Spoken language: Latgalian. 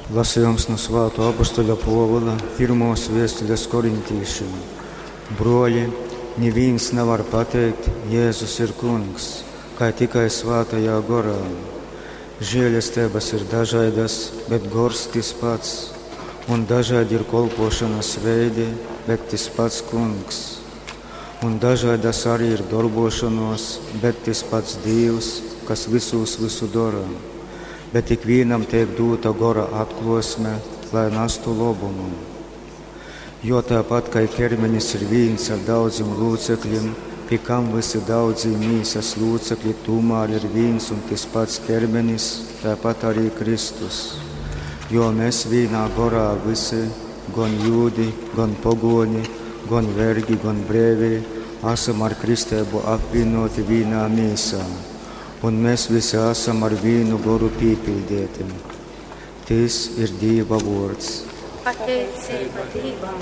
Lasījums nu Svātō apostoļa Pōvula pirmōs vēstules korintīšim. Brōļi, nivīns navar pateikt, Jēzus ir Kungs, kai tikai Svātajā Gorā. Žēlesteibas ir dažaidas, bet Gors tys pats, un dažaidi ir kolpōšonas veidi, bet tys pats Kungs. Un dažaidas arī ir dorbōšonōs, bet tys pats Dīvs, kas vysūs vysu dora. Bet ikvīnam teik dūta Gora atklōsme, lai nastu lobumu. Jo tāpat kai kermenis ir vīns ar daudzim lūceklim, pi kam vysi daudzī mīsas lūcekļi tūmār ir vīns un tys pats kermenis, tāpat arī Kristus. Jo mēs vīnā gorā vysi, gon jūdi, gon pogōni, gon vergi, gon breivī, asam ar kristeibu apvīnōti vīnā mīsā, un mēs visi asam ar vīnu goru pīpiļdeiti. Tys ir Dīva vōrds. Pateiceiba Dīvam.